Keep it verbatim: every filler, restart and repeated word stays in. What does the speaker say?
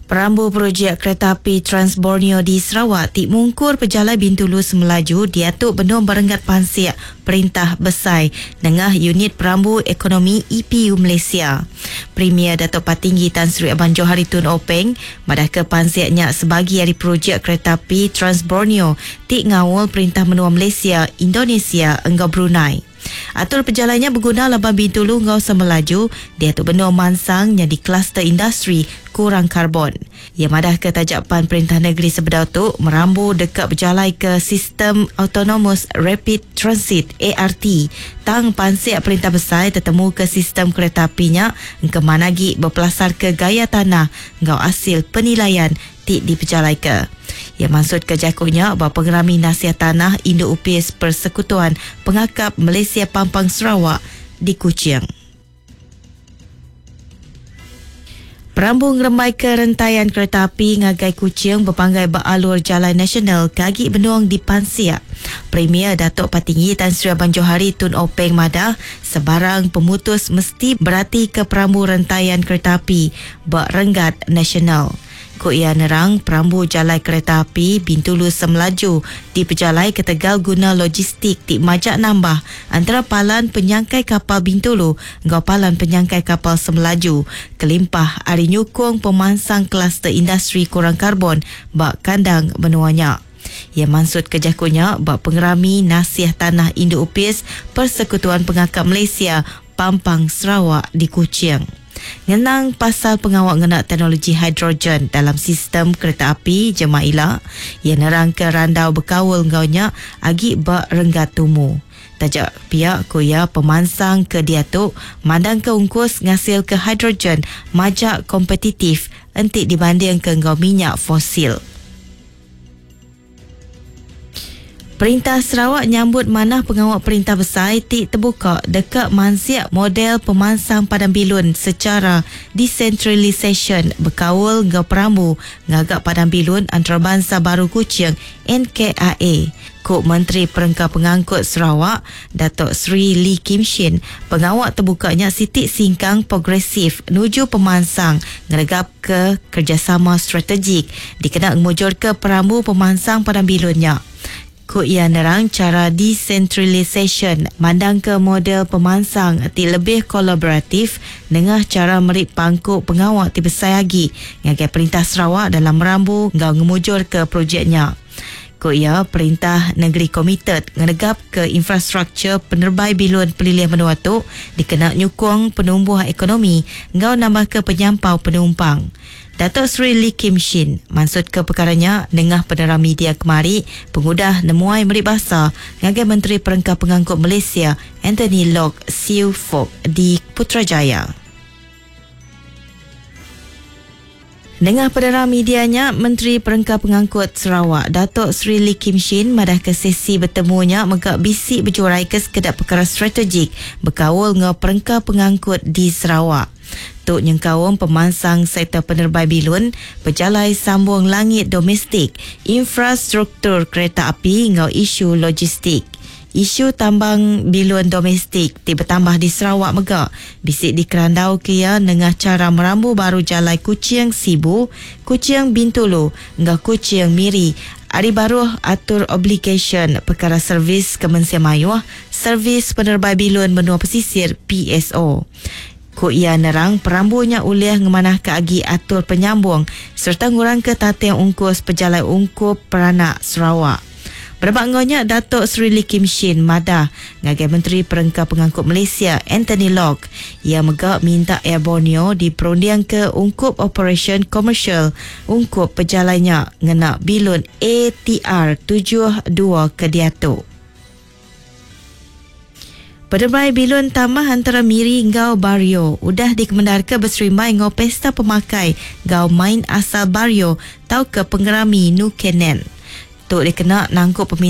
Perambu projek kereta api Trans Borneo di Sarawak ti mungkur pejalai Bintulu Semelaju diatu benung berenggat pansik Perintah Besai nengah Unit Perambu Ekonomi E P U Malaysia. Premier Datuk Patinggi Tan Sri Abang Johari Tun Openg madah ke pansik nya sebagi ari projek kereta api Trans Borneo ti ngawal Perintah Menua Malaysia, Indonesia enggau Brunei. Atur pejalannya berguna laban Bintulu ngau Semelaju diatu benua mansang jadi kluster industri kurang karbon. Ia madah ke tajapan Perintah Negeri Sebedau tu merambu dekat berjalai ke sistem Autonomous Rapid Transit A R T. Tang pansik Perintah Besai tetemu ke sistem kereta apinya ke mana lagi berpelasar ke gaya tanah ngau hasil penilaian ti dipejalai ke. Ia maksud ke jakunya bahawa pengerami nasihat tanah Indo Upis Persekutuan Pengakap Malaysia Pampang Sarawak di Kuching. Perambu ngerembai ke rentayan kereta api ngagai Kuching berpanggai beralur jalan nasional kagi benung di Pansiak. Premier Datuk Patinggi Tan Sri Abang Johari Tun Openg madah sebarang pemutus mesti berarti ke perambu rentayan kereta api berenggat nasional. Ku ia nerang perambu jalan kereta api Bintulu Semelaju dipejalai ke Tegal guna logistik ti majak nambah antara palan penyangkai kapal Bintulu ngau palan penyangkai kapal Semelaju kelimpah ari nyukung pemansang kluster industri kurang karbon bak kandang menuanya. Ia maksud kejakunya bak pengerami nasiah tanah Indo Upis Persekutuan Pengakap Malaysia Pampang Sarawak di Kuching. Ngenang pasal pengawal ngena teknologi hidrogen dalam sistem kereta api jemaah ila, ia nerang ke randau berkawal ngaunya agi bak renggat tumu. Tajak pihak kuya pemansang ke diatu mandang ke ungkus ngasil ke hidrogen majak kompetitif entik dibanding ke ngau minyak fosil. Perintah Sarawak nyambut manah pengawal perintah besar ti terbuka dekat mansiak model pemansang Padang Bilun secara decentralisation berkawal ngau perambu ngagak Padang Bilun Antarabangsa Baru Kuching N K A A. Kok Menteri Perengka Pengangkut Sarawak, Datuk Seri Lee Kim Shin, pengawal terbukanya sitik singkang progresif nuju pemansang ngeregap ke kerjasama strategik dikena ngemujur ke perambu pemansang Padang Bilunnya. Ku ia nerang cara decentralisation mandang ke model pemansang ti lebih kolaboratif nengah cara merik pangkuk pengawal ti besar lagi ngagai Perintah Sarawak dalam merambu ngau ngemujur ke projeknya. Ku ia Perintah Negeri komited ngenegap ke infrastruktur penerbai bilun pelilih menua tu dikena nyukung penumbuhan ekonomi ngau nambah ke penyampau penumpang. Datuk Seri Lee Kim Shin maksud ke perkaranya nengah penerang media kemari pengudah nemuai meri basa ngagai Menteri Perengka Pengangkut Malaysia Anthony Loke Siew Fook di Putrajaya. Nengah penerang medianya, Menteri Perengka Pengangkut Sarawak, Datuk Seri Lee Kim Shin madah ke sesi bertemunya megak bisik berjurai ke sekedar perkara strategik berkawal ngau perengka pengangkut di Sarawak. Tuk nyengkaum pemansang sektor penerbai bilun, pejalai sambung langit domestik, infrastruktur kereta api ngau isu logistik. Isu tambang bilun domestik ti bertambah di Sarawak megak bisik di Kerandau kia nengah cara merambu baru jalai Kuching Sibu, Kuching Bintulu, ngau Kuching Miri. Ari baruh atur obligation perkara servis Kemensia Mayuh, servis penerbai bilun menua pesisir P S O. Ku ia nerang perambunya ulih ngemanah ke agi atur penyambung serta ngurang ke tateng ungkus pejalai ungkup peranak Sarawak. Berebak ngonya Datuk Seri Lee Kim Shin madah ngagai Menteri Perengka Pengangkut Malaysia Anthony Loke ia megak minta Air Borneo diperundiang ke ungkup operation komersial ungkup pejalainya ngena bilun A T R tujuh dua ke diatu. Penerbai bilun tambah antara Miri ngau Bario udah dikemendar ke berserimai ngau pesta pemakai ngau main asal Bario tau ke pengerami Nukenen. Tuk dikena nangkup permintaan